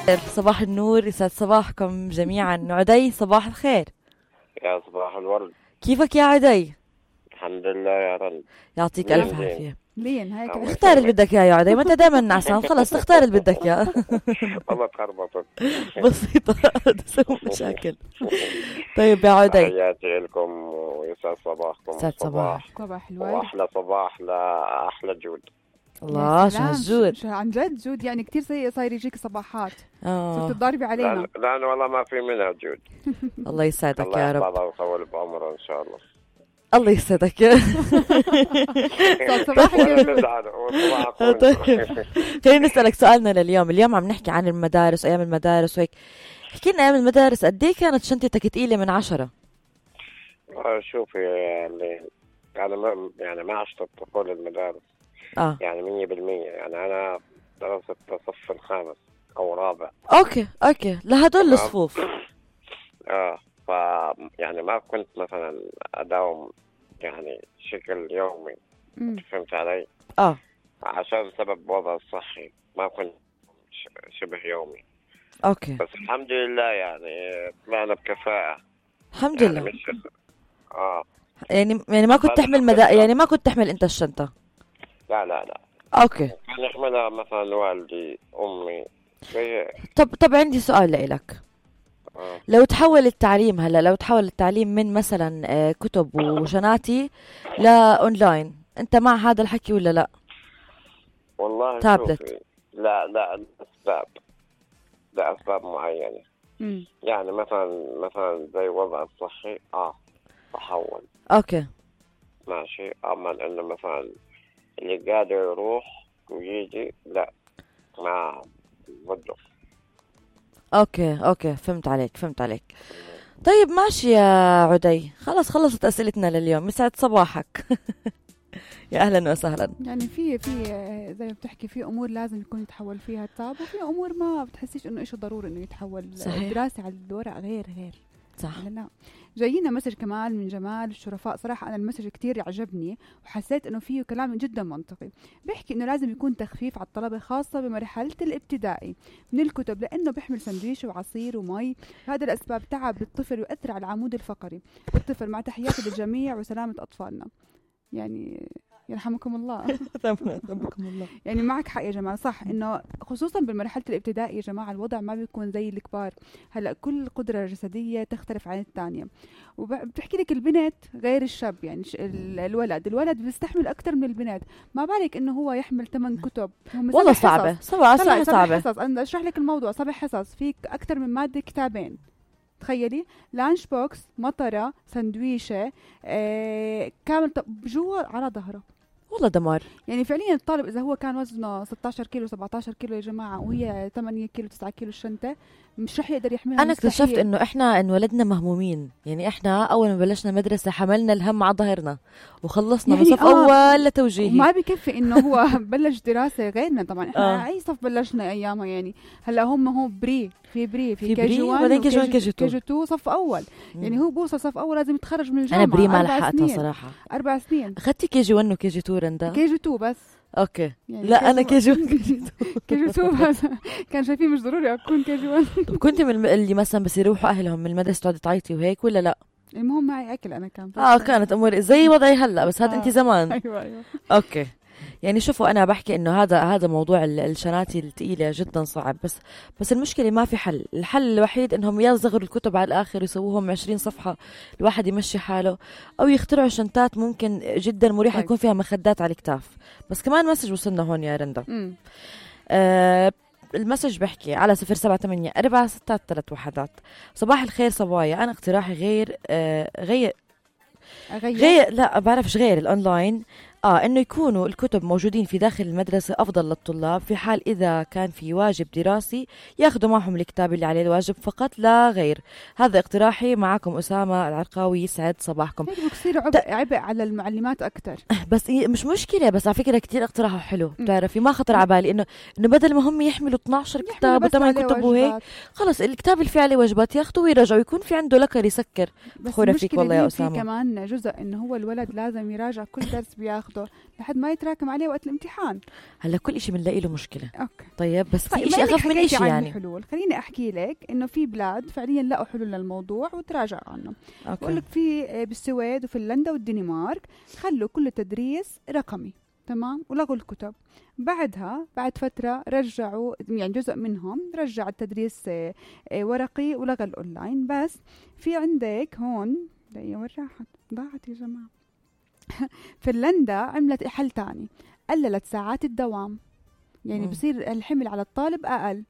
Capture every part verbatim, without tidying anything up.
صباح النور، يسعد صباحكم جميعا. عدي صباح الخير. يا صباح الورد. كيفك يا عدي؟ الحمد لله يا رند. يعطيك ألف عافية. لين هيك اختار اللي بدك اياه يا عدي، ما انت دائما نعسان، خلص تختار اللي بدك اياه. والله تخربطت. بسيطة تسوي مشاكل. طيب يا عدي، تحياتي لكم ويسعد صباحكم. يسعد صباح. صباح الورد. واحلى صباح لاحلى جود. الله شو هالجود عن جد جود، يعني كتير سيء صاير يجيك صباحات. اه صرت تضاربي علينا. لأنه والله ما في منها جود. الله يسعدك يا رب. الله يحفظها ويطول بعمره ان شاء الله. الله يسعدك يا صباحك. طيب خلينا نسألك سؤالنا لليوم. اليوم عم نحكي عن المدارس، أيام المدارس وهيك. احكي لنا أيام المدارس قد ايه كانت شنطتك ثقيلة من عشرة؟ شوفي يعني أنا ما يعني ما عشت الطفولة المدارس اه يعني مية بالمية. يعني أنا درست الصف الخامس أو رابع. اوكي اوكي لهدول الصفوف. اه ف يعني ما كنت مثلا أداوم يعني شكل يومي. مم. فهمت علي؟ اه عشان سبب وضع الصحي ما كنت شبه يومي. اوكي بس الحمد لله يعني طلعنا بكفاءة الحمد يعني لله. مش اه يعني يعني ما كنت تحمل مدا... يعني ما كنت تحمل انت الشنطة؟ لا لا لا اوكي. كان يحملها مثلا والدي امي زي. طب طب عندي سؤال لإلك. آه. لو تحول التعليم هلا لو تحول التعليم من مثلا آه، كتب وشناتي لأونلاين، انت مع هذا الحكي ولا لا؟ والله تابلت. شوفي، لا لا الأسباب لأسباب معينة. مم. يعني مثلا مثلا زي وضع الصحي اه تحول اوكي ماشي. اما انه مثلا اللي قادر يروح ويجي لا ما بده. اوكي اوكي فهمت عليك فهمت عليك. طيب ماشي يا عدي، خلص خلصت اسئلتنا لليوم. يسعد صباحك. يا اهلا وسهلا. يعني في في زي ما بتحكي في امور لازم يكون يتحول فيها التاب، وفي امور ما بتحسيش انه إشي ضروري انه يتحول. صحيح. الدراسة على الورق غير غير صح. لا لا. جايينا مسج كمان من جمال الشرفاء. صراحة أنا المسج كتير عجبني وحسيت إنه فيه كلام جدا منطقي. بيحكي إنه لازم يكون تخفيف على الطلبة خاصة بمرحلة الابتدائي من الكتب، لأنه بيحمل سندويش وعصير ومي. هذا الأسباب تعب الطفل ويؤثر على العمود الفقري بالطفل. مع تحياتي للجميع وسلامة أطفالنا. يعني يرحمكم الله. رحمكم الله. يعني معك حق يا جماعة، صح إنه خصوصا بالمرحلة الابتدائية يا جماعة الوضع ما بيكون زي الكبار. هلأ كل قدرة جسدية تختلف عن الثانية، وبتحكي لك البنت غير الشاب. يعني الولد الولد بيستحمل أكتر من البنت. ما بالك إنه هو يحمل ثمان كتب. والله صعبة صعبة صعبة صعبة حصص. أنا أشرح لك الموضوع. سبع حصص فيك أكتر من مادة كتابين. تخيلي لانش بوكس، مطرة، سندويشة، آه، كامل جوا على ظهره. والله دمار. يعني فعليا الطالب إذا هو كان وزنه ستة عشر كيلو سبعة عشر كيلو يا جماعة وهي ثمانية كيلو تسعة كيلو الشنطة، مش رح يقدر يحملها. أنا اكتشفت إنه إحنا انولدنا مهمومين. يعني إحنا أول ما بلشنا مدرسة حملنا الهم على ظهرنا وخلصنا يعني من صف آه أول لتوجيهي. ما بيكفي إنه هو بلش دراسة غيرنا. طبعا إحنا آه. أي صف بلشنا أيامها. يعني هلا هم هو بري في بري في, في كي جي واحد وبعدين كي جي واحد كي جي كي جي تو صف أول. مم. يعني هو بوصل صف أول لازم يتخرج من الجامعة. أنا بري ما أربع لحقتها سنين. صراحة. أربع سنين. أخذتي كي جي واحد وكي جي تو رندا؟ كي جي تو بس. اوكي يعني لا انا كي جي واحد كي جي تو. كي جي تو بس. كان شايفين مش ضروري اكون كي جي واحد. طب كنت من الم- اللي مثلا بس يروحوا اهلهم من المدرسه تقعدي تعيطي وهيك ولا لا؟ المهم معي اكل انا كان. اه كانت اموري زي وضعي هلا، بس هذا آه. انت زمان. ايوه ايوه. اوكي. يعني شوفوا انا بحكي انه هذا هذا موضوع ال- الشناتي الثقيله جدا صعب. بس بس المشكله ما في حل. الحل الوحيد انهم يصغروا الكتب على الاخر يسووهم عشرين صفحه الواحد يمشي حاله، او يخترعوا شنطات ممكن جدا مريحه طيب. يكون فيها مخدات على الكتاف. بس كمان مسج وصلنا هون يا رندا. امم آه المسج بحكي على صفر سبعة ثمانية أربعة ستة ثلاث وحدات. صباح الخير صبايا، أنا اقتراحي غير آه غير اغير. غير لا بعرفش غير الأونلاين. آه إنه يكونوا الكتب موجودين في داخل المدرسة أفضل للطلاب، في حال إذا كان في واجب دراسي ياخدوا معهم الكتاب اللي عليه الواجب فقط لا غير. هذا اقتراحي. معكم أسامة العرقاوي. يسعد صباحكم. هيك بصير عبء عبء على المعلمات أكتر. بس إيه مش مشكلة، بس على فكرة كتير اقتراحه حلو. بتعرفي ما خطر على بالي إنه إنه بدل ما هم يحملوا اثنا عشر كتاب وثمان كتب وهيك، خلص الكتاب اللي فيه عليه واجبات ياخدوا ويرجعوا، يكون في عنده لكر يسكر. فخورة فيك والله يا أسامة. في كمان جزء إنه هو الولد لازم يراجع كل درس بياخده ياخده لحد ما يتراكم عليه وقت الامتحان. هلا كل إشي بنلاقي له مشكلة. أوكي. طيب بس في طيب إشي أخف من إشي يعني. الحلول خليني أحكي لك إنه في بلاد فعليا لقوا حلول للموضوع وتراجعوا عنه. بقول لك في بالسويد وفنلندا والدنمارك خلوا كل التدريس رقمي، تمام، ولغوا الكتب. بعدها بعد فترة رجعوا يعني جزء منهم رجع التدريس ورقي ولغى الأونلاين. بس في عندك هون دقيقة وين راحت ضاعت يا جماعة. فنلندا عملت حل تاني، قللت ساعات الدوام، يعني بصير الحمل على الطالب أقل.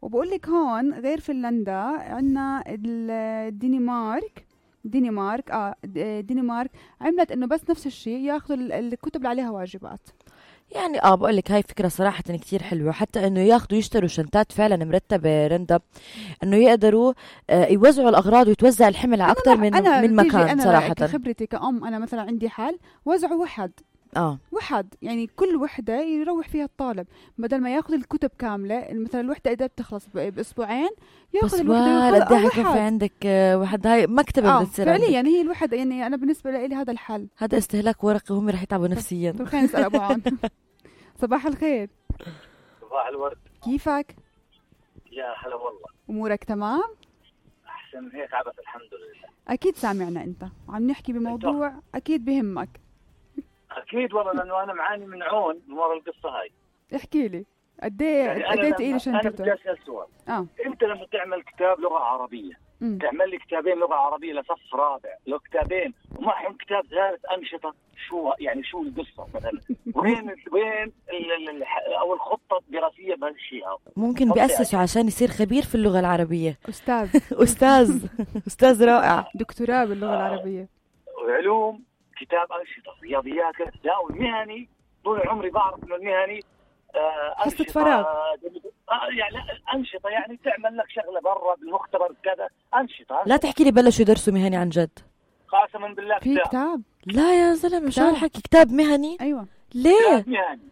وبقول لك هون غير فنلندا عندنا الدنمارك دنمارك اه الدنمارك عملت انه بس نفس الشيء ياخذوا الكتب اللي عليها واجبات. يعني اه بقول لك هاي فكره صراحه كتير حلوه، حتى انه ياخذوا يشتروا شنطات فعلا مرتبه رندا، انه يقدروا آه يوزعوا الاغراض ويتوزع الحمل على اكثر من أنا من مكان. أنا صراحه كخبرتي كأم انا مثلا عندي حل وزعوا وحد اه وحد يعني كل وحده يروح فيها الطالب، بدل ما ياخذ الكتب كامله. مثلا الوحده اذا بتخلص باسبوعين ياخذ الوحده. قد ايه حيكون في عندك واحد هاي مكتبه آه بدها تصير فعليا يعني هي الوحده. يعني انا بالنسبه لي هذا الحل. هذا استهلاك ورقي وهم رح يتعبوا نفسيا. طيب خلينا نسال ابو عون. صباح الخير. صباح الورد. كيفك؟ يا هلا والله. امورك تمام؟ احسن من هيك عبث الحمد لله. اكيد سامعنا انت وعم نحكي بموضوع اكيد بهمك. اكيد والله لانه انا معاني من عون من ورا القصه هاي. احكي لي قد ايه قد ايه تقيل شنطتك؟ انا بدي اسال سؤال. اه انت لما تعمل كتاب لغه عربيه م. تعمل لي كتابين لغه عربيه لصف رابع، لو كتابين ومعهم كتاب ثالث انشطه، شو يعني شو القصه مثلا؟ وين وين او الخطه الدراسيه بهالشيء هذا؟ ممكن بيأسسوا عشان يصير خبير في اللغه العربيه. استاذ استاذ استاذ رائع. دكتوراه باللغه العربيه. وعلوم كتاب انشطه، رياضيات. لا والمهني طول عمري بعرف انه المهني حصة فراغ. آه يعني أنشطة، يعني تعمل لك شغلة برا بالمختبر كذا أنشطة. لا تحكي لي بلشوا يدرسوا مهني عن جد. قاسما بالله في كتاب. كتاب لا يا زلمة شو هالحكي كتاب مهني؟ أيوة. ليه؟ كتاب مهني.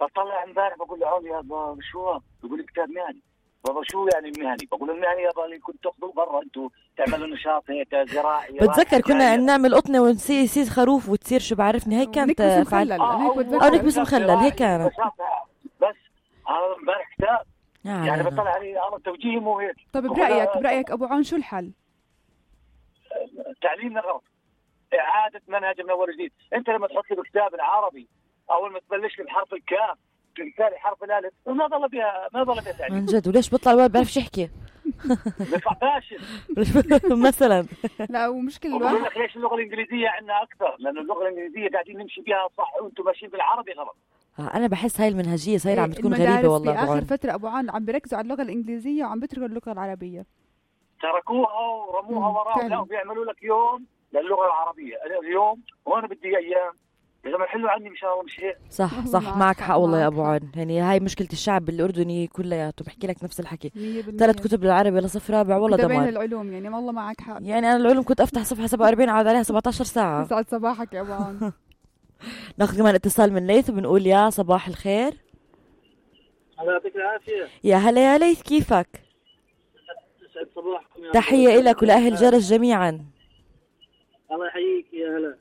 بطلع امبارح بقول له عون يا بابا شو؟ بقول لي كتاب مهني. بابا شو يعني مهني؟ بقول المهني يا بابا كنت تاخذوه برا انتم تعملوا نشاط هيك زراعي. بتذكر كنا نعمل قطنه ونصير يصير خروف وتصير شو بعرفني هيك كانت فعل او نكبس مخلل هيك كانت. بس هذا امبارح كتاب آه يعني بطلع عليه على توجيه مو هيك. طب برايك برايك ابو عون شو الحل؟ تعليم الغلط، اعاده منهج من اول جديد. انت لما تحط لي بكتاب العربي اول ما تبلش لي بحرف الكاف تنتهي حرف الالف ما ضل بها ما ضل بها تعليم عن جد. وليش بيطلع الولد بيعرفش يحكي؟ بيطلع فاشل مثلا. لا ومشكلة بقول لك ليش اللغه الانجليزيه عندنا اكثر؟ لانه اللغه الانجليزيه قاعدين نمشي بها صح وانتم ماشيين بالعربي غلط. انا بحس هاي المنهجيه صايره عم بتكون غريبه والله. باخر فتره ابو عون عم بيركزوا على اللغه الانجليزيه وعم بيتركوا اللغه العربيه. تركوها ورموها وراء. لا بيعملوا لك يوم للغه العربيه اليوم وانا بدي ايام. يا زلمه حلوا عني ان شاء الله مش هيك. صح صح معك حق والله يا ابو عون. يعني هاي مشكله الشعب الاردني كلياته بحكي لك نفس الحكي. ثلاث كتب بالعربي لصف رابع والله دمار. بين العلوم يعني والله معك حق. يعني انا العلوم كنت افتح صفحه سبعة وأربعين اقعد عليها سبعة عشر ساعه. يسعد صباحك يا ابو عون. ناخذ كمان اتصال من ليث وبنقول يا صباح الخير. الله يعطيك العافيه. يا هلا يا ليث كيفك؟ يسعد صباحكم. تحيه لك ولاهل جرس جميعا. الله يحييك يا هلا.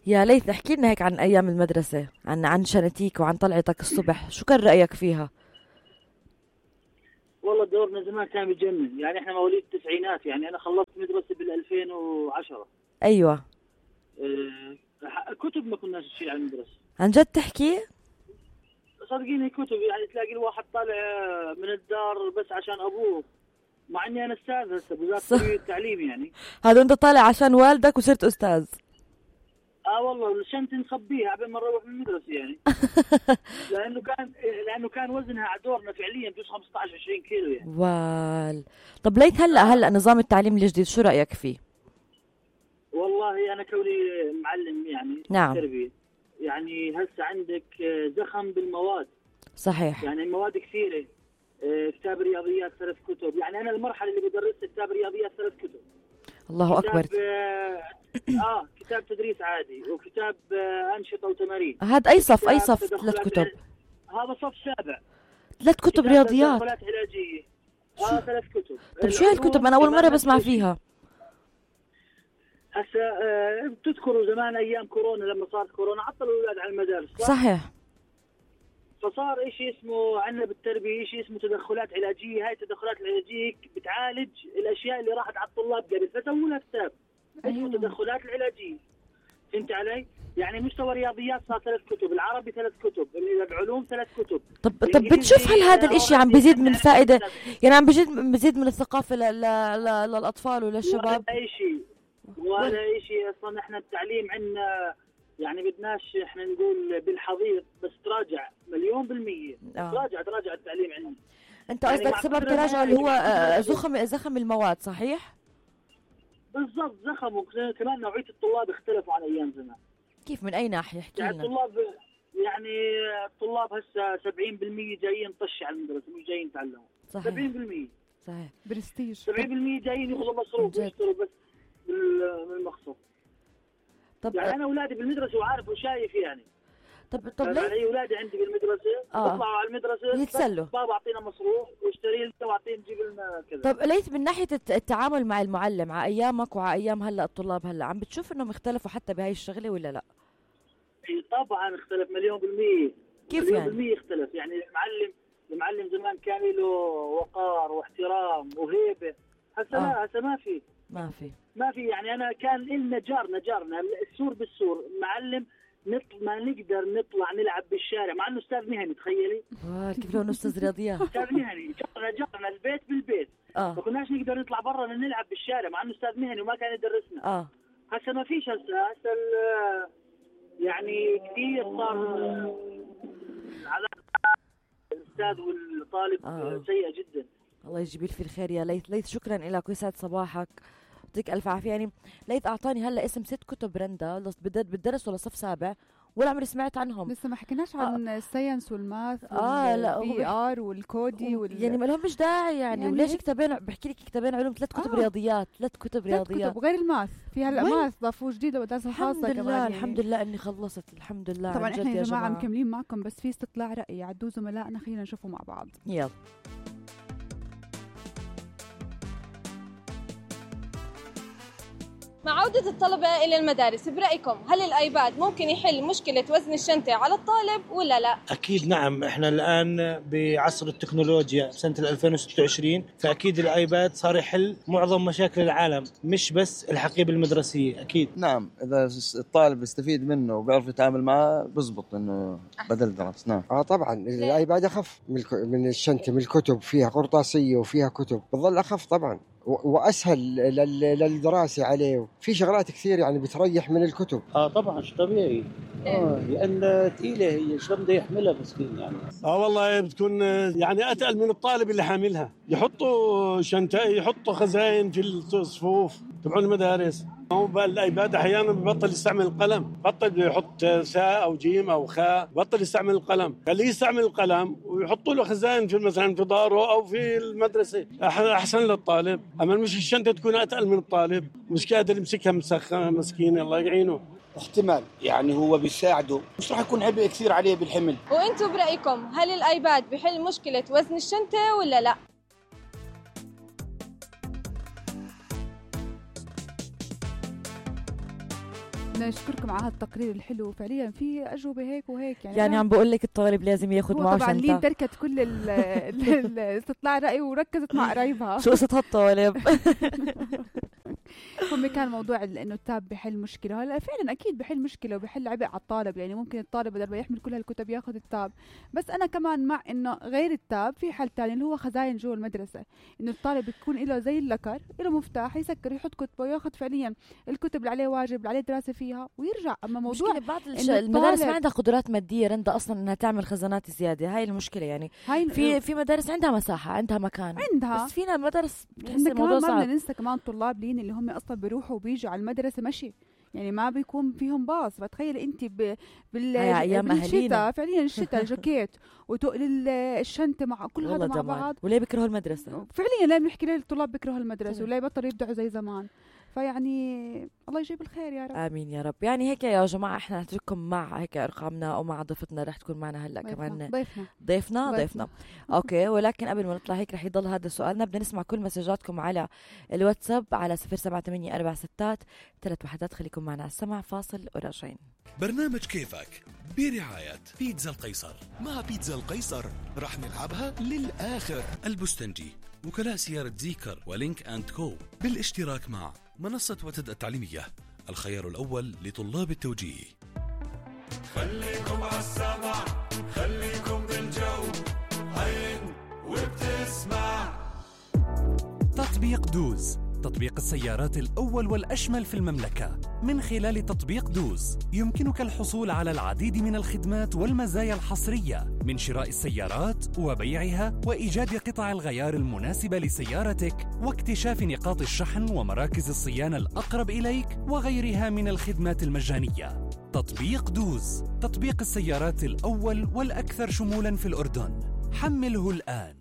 يا ليث احكي لنا هيك عن ايام المدرسه، عن عن شنتيك وعن طلعتك الصبح، شو كان رايك فيها؟ والله دورنا زمان كان بيجنن، يعني احنا مواليد التسعينات، يعني انا خلصت مدرسه بال ألفين وعشرة. ايوه. اه كتب ما كناش نشيل على المدرسه. عن جد تحكي؟ صدقيني كتب، يعني تلاقي الواحد طالع من الدار بس عشان ابوه، مع اني انا استاذ هسه بوزاره التعليم. يعني هذا انت طالع عشان والدك وصرت استاذ؟ اه والله شنطتي نخبيها قبل ما نروح من المدرسه يعني. لانه كان لانه كان وزنها على دورنا فعليا بجوز خمسة عشر عشرين كيلو يعني. وال طب ليك هلا هلا نظام التعليم الجديد شو رايك فيه؟ والله انا كوني معلم يعني نعم. تربيه، يعني هسه عندك زخم بالمواد. صحيح. يعني المواد كثيره، كتاب رياضيات ثلاث كتب، يعني انا المرحله اللي بدرسها كتاب رياضيات ثلاث كتب. الله اكبر. اه كتاب تدريس عادي وكتاب آه انشطه وتمارين. هذا اي صف؟ اي صف؟ ثلاث كتب؟ هذا صف سابع. ثلاث كتب رياضيات؟ تدخلات علاجيه. اه ثلاث كتب. طيب شو هالكتب؟ انا اول مره بسمع فيها. هسه آه بتذكروا زمان ايام كورونا لما صارت كورونا عطلوا الاولاد على المدارس صح؟ صحيح. فصار إشي اسمه عندنا بالتربيه إشي اسمه تدخلات علاجيه، هاي التدخلات العلاجيه بتعالج الاشياء اللي راحت على الطلاب قبل، فسووا لها كتاب اسمه التدخلات العلاجيه. فهمت علي؟ يعني مستوى الرياضيات صار ثلاث كتب، العربي ثلاث كتب، العلوم ثلاث كتب. طب طب بتشوف هل هذا الاشي عم بيزيد من الفائده، يعني عم بيزيد بيزيد من الثقافه للاطفال وللشباب؟ ولا شيء ولا شيء اصلا. احنا التعليم عندنا يعني بدناش احنا نقول بالحضيض، بس تراجع مليون بالمية. آه. تراجع تراجع التعليم عندنا. انت قصدك يعني سبب تراجع اللي هو زخم زخم المواد صحيح؟ بالضبط زخم، وكمان نوعية الطلاب اختلفوا عن ايام زمان. كيف من اي ناحية؟ احكي يعني الطلاب يعني الطلاب هسه سبعين بالمية جايين طش على المدرسة، مش جايين يتعلموا. صحيح. سبعين بالمية صحيح. برستيج. سبعين بالمية جايين ياخذوا مصروف ويشتروا بس بالمقصد. طب يعني انا اولادي بالمدرسة وعارف وشايف يعني. طب طب ليه؟ يعني اولادي عندي بالمدرسة آه. بيطلعوا على المدرسة يتسلوا، بابا اعطينا مصروف واشتري لنا واعطينا نجيب لنا كذا. طب ليت من ناحية التعامل مع المعلم على ايامك وعلى ايام هلا الطلاب هلا، عم بتشوف انهم اختلفوا حتى بهاي الشغلة ولا لا؟ طبعا اختلف مليون بالمية. كيف مليون يعني؟ بالمية اختلف. يعني المعلم المعلم زمان كان له وقار واحترام وهيبة، هسه آه. لا هسه ما في ما في ما في يعني انا كان لنا جارنا جارنا السور بالسور معلم نطلع ما نقدر نطلع نلعب بالشارع مع انه استاذ مهني. تخيلي اه كيف لو انه استاذ رياضيات استاذ مهني جارنا جارنا البيت بالبيت اه ما كناش نقدر نطلع برا نلعب بالشارع مع انه استاذ مهني وما كان يدرسنا. اه هسه ما فيش. هسه هسه يعني كثير صار على الاستاذ والطالب آه. سيئة جدا. الله يجيب لي في الخير يا ليث. ليث شكرا لك ويسعد صباحك، يعطيك الف عافيه. يعني ليث اعطاني هلا اسم ست كتب رندا بالدرس ولا صف سابع ولا عمري سمعت عنهم. لسه ما حكيناش عن آه. الساينس والماث اه لا والبي ار والكودي وال... يعني ما لهم مش داعي يعني, يعني وليش كتابين بحكي لك كتابين علوم ثلاث كتب آه. رياضيات ثلاث كتب رياضيات كتب غير الماث. في هلا ماث ضافوه جديد ومدرسه خاصه كمان. الحمد لله يعني. الحمد لله اني خلصت الحمد لله. طبعا احنا يا جماعه مكملين معكم بس في استطلاع راي عدوا زملائنا خلينا نشوفه مع بعض. يلا. مع عودة الطلبة إلى المدارس برأيكم هل الآيباد ممكن يحل مشكلة وزن الشنطة على الطالب ولا لا؟ أكيد نعم. إحنا الآن بعصر التكنولوجيا سنة ألفين وستة وعشرين، فأكيد الآيباد صار يحل معظم مشاكل العالم مش بس الحقيبة المدرسية. أكيد نعم. إذا الطالب يستفيد منه وبيعرف يتعامل معه بزبط إنه بدل درس. نعم آه طبعا الآيباد أخف من الشنطة، من الكتب فيها قرطاسية وفيها كتب بظل أخف طبعا وأسهل للدراسة عليه. في شغلات كثير يعني بتريح من الكتب. آه طبعا شو طبيعي آه لأن ثقيلة هي شو بده يحملها مسكين يعني. آه والله بتكون يعني أتقل من الطالب اللي حاملها. يحطوا شنطة يحطوا خزائن في الصفوف تبعون المدارس. هو بالآيباد أحيانا ببطل يستعمل القلم، بطل يحط ساء أو جيم أو خاء، بطل يستعمل القلم، خليه يستعمل القلم ويحطوا له خزائن في مثلا في داره أو في المدرسة أحسن للطالب. أما مش الشنطة تكون أتقل من الطالب مش قادر يمسكها مسخة مسكين الله يعينه. احتمال يعني هو بيساعده مش راح يكون عبء كثير عليه بالحمل. وانتم برأيكم هل الآيباد بحل مشكلة وزن الشنطة ولا لا؟ نشكركم على هالتقرير الحلو. فعليا في أجوبة هيك وهيك يعني, يعني عم بقول لك الطالب لازم ياخذ معه شنطة. طبعا لين تركت كل الاستطلاع رأي وركزت مع قرايبها. شو قصة هالطالب؟ هم كان موضوع انه التاب بحل مشكله. هلا فعلا اكيد بحل مشكله وبحل عبء على الطالب. يعني ممكن الطالب بدل ما يحمل كل هالكتب ياخذ التاب. بس انا كمان مع انه غير التاب في حل ثاني اللي هو خزائن جوا المدرسه، انه الطالب يكون له زي اللكر له مفتاح يسكر يحط كتبه وياخذ فعليا الكتب اللي عليه واجب اللي عليه دراسه فيها ويرجع. اما موضوع بعض المدارس ما عندها قدرات ماديه رندا اصلا انها تعمل خزانات زياده. هاي المشكله يعني. هاي في في مدارس عندها مساحه عندها مكان عندها، بس فينا مدارس بتحس الموضوع صعب. ما بدنا ننسى كمان طلاب لين اللي هم اصلا بيروحوا وبيجوا على المدرسه مشي، يعني ما بيكون فيهم باص. فتخيل انت ب... بال... بالشتاء فعليا الشتاء الجاكيت وتقل الشنطه مع كل هذا مع بعض. وليه بيكرهوا المدرسه؟ فعليا لا بنحكي ليه الطلاب بيكرهوا المدرسه ولا بطلوا يبدعوا زي زمان. فيعني الله يجيب الخير يا رب. آمين يا رب. يعني هيك يا جماعة إحنا نترككم مع هيك أرقامنا ومع ضيفتنا رح تكون معنا هلأ كمان ضيفنا ضيفنا ضيفنا أوكي. ولكن قبل ما نطلع هيك رح يضل هذا سؤالنا. بدنا نسمع كل مسجاتكم على الواتساب على صفر سبعة ثمانية أربعة ستات ثلاث وحدات. خليكم معنا على السمع، فاصل وراجعين. برنامج كيفك برعاية بيتزا القيصر. مع بيتزا القيصر رح نلعبها للآخر. البستنجي، وكلاء سيارة زيكر ولينك أند كو، بالاشتراك مع منصة وتد التعليمية، الخيار الأول لطلاب التوجيه. خليكم عالسمع، خليكم بالجو، عين وبتسمع. تطبيق دوز، تطبيق السيارات الأول والأشمل في المملكة. من خلال تطبيق دوز يمكنك الحصول على العديد من الخدمات والمزايا الحصرية، من شراء السيارات وبيعها وإيجاد قطع الغيار المناسبة لسيارتك واكتشاف نقاط الشحن ومراكز الصيانة الأقرب إليك وغيرها من الخدمات المجانية. تطبيق دوز، تطبيق السيارات الأول والأكثر شمولاً في الأردن. حمله الآن.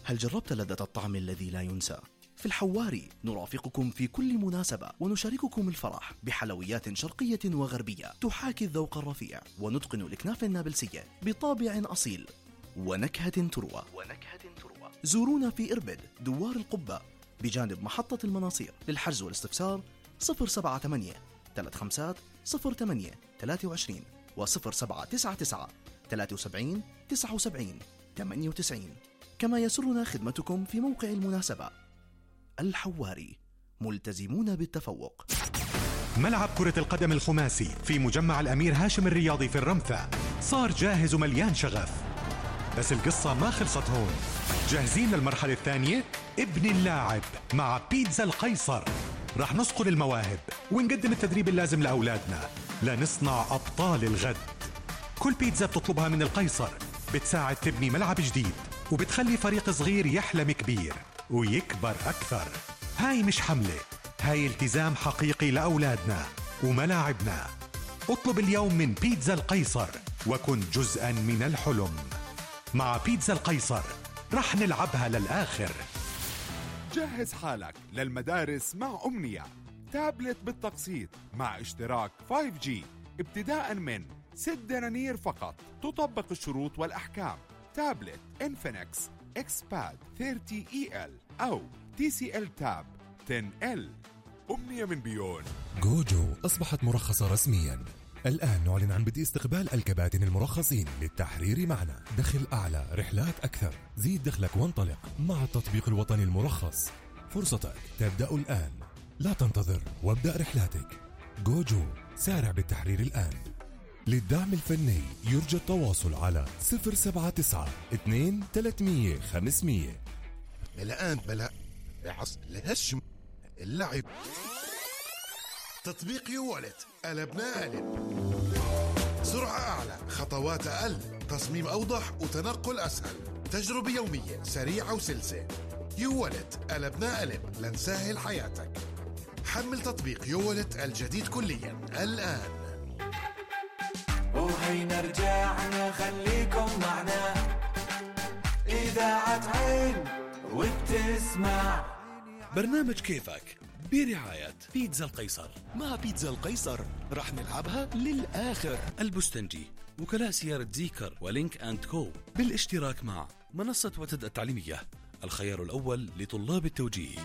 هل جربت لذة الطعم الذي لا ينسى؟ في الحواري نرافقكم في كل مناسبة ونشارككم الفرح بحلويات شرقية وغربية تحاكي الذوق الرفيع ونتقن الأكناف النابلسية بطابع أصيل ونكهة تروى ونكهة تروى. زورونا في إربد دوار القبة بجانب محطة المناصير. للحجز والاستفسار صفر سبعة ثمانية ثلاثة خمسة صفر ثمانية ثلاثة وعشرين وصفر سبعة تسعة تسعة ثلاثة وسبعين تسعة وسبعين ثمانية وتسعين. كما يسرنا خدمتكم في موقع المناسبة. الحواري، ملتزمون بالتفوق. ملعب كرة القدم الخماسي في مجمع الأمير هاشم الرياضي في الرمثة صار جاهز ومليان شغف، بس القصة ما خلصت هون. جاهزين للمرحلة الثانية؟ ابن اللاعب مع بيتزا القيصر. رح نصقل المواهب ونقدم التدريب اللازم لأولادنا لنصنع أبطال الغد. كل بيتزا بتطلبها من القيصر بتساعد تبني ملعب جديد وبتخلي فريق صغير يحلم كبير ويكبر أكثر. هاي مش حملة، هاي التزام حقيقي لأولادنا وملاعبنا. اطلب اليوم من بيتزا القيصر وكن جزءا من الحلم. مع بيتزا القيصر رح نلعبها للآخر. جهز حالك للمدارس مع أمنية، تابلت بالتقسيط مع اشتراك فايف جي ابتداء من ست دنانير فقط. تطبق الشروط والأحكام. تابلت إنفينكس إكسباد ثلاثين إي إل أو تي سي إل تاب عشرة إل. أمنية من بيون. جوجو أصبحت مرخصة رسمياً. الآن نعلن عن بدء استقبال الكباتن المرخصين للتحرير معنا. دخل أعلى، رحلات أكثر. زيد دخلك وانطلق مع التطبيق الوطني المرخص. فرصتك تبدأ الآن، لا تنتظر وابدأ رحلاتك. جوجو، سارع بالتحرير الآن. للدعم الفني يرجى التواصل على صفر سبعة تسعة اثنين ثلاثمية خمسمية. الآن بلا عص لهشم اللعب. تطبيق يوالت قلبنا قلب. سرعة أعلى، خطوات أقل، تصميم أوضح وتنقل أسهل. تجربة يومية سريعة وسلسة. يوالت قلبنا قلب لنسهل حياتك. حمل تطبيق يوالت الجديد كليا الآن. وهينا رجعنا، خليكم معنا. إذاعة عين وبتسمع. برنامج كيفك برعاية بيتزا القيصر. مع بيتزا القيصر رح نلعبها للآخر. البستنجي، وكلاء سيارة زيكر ولينك أند كو، بالاشتراك مع منصة وتد التعليمية، الخيار الأول لطلاب التوجيه.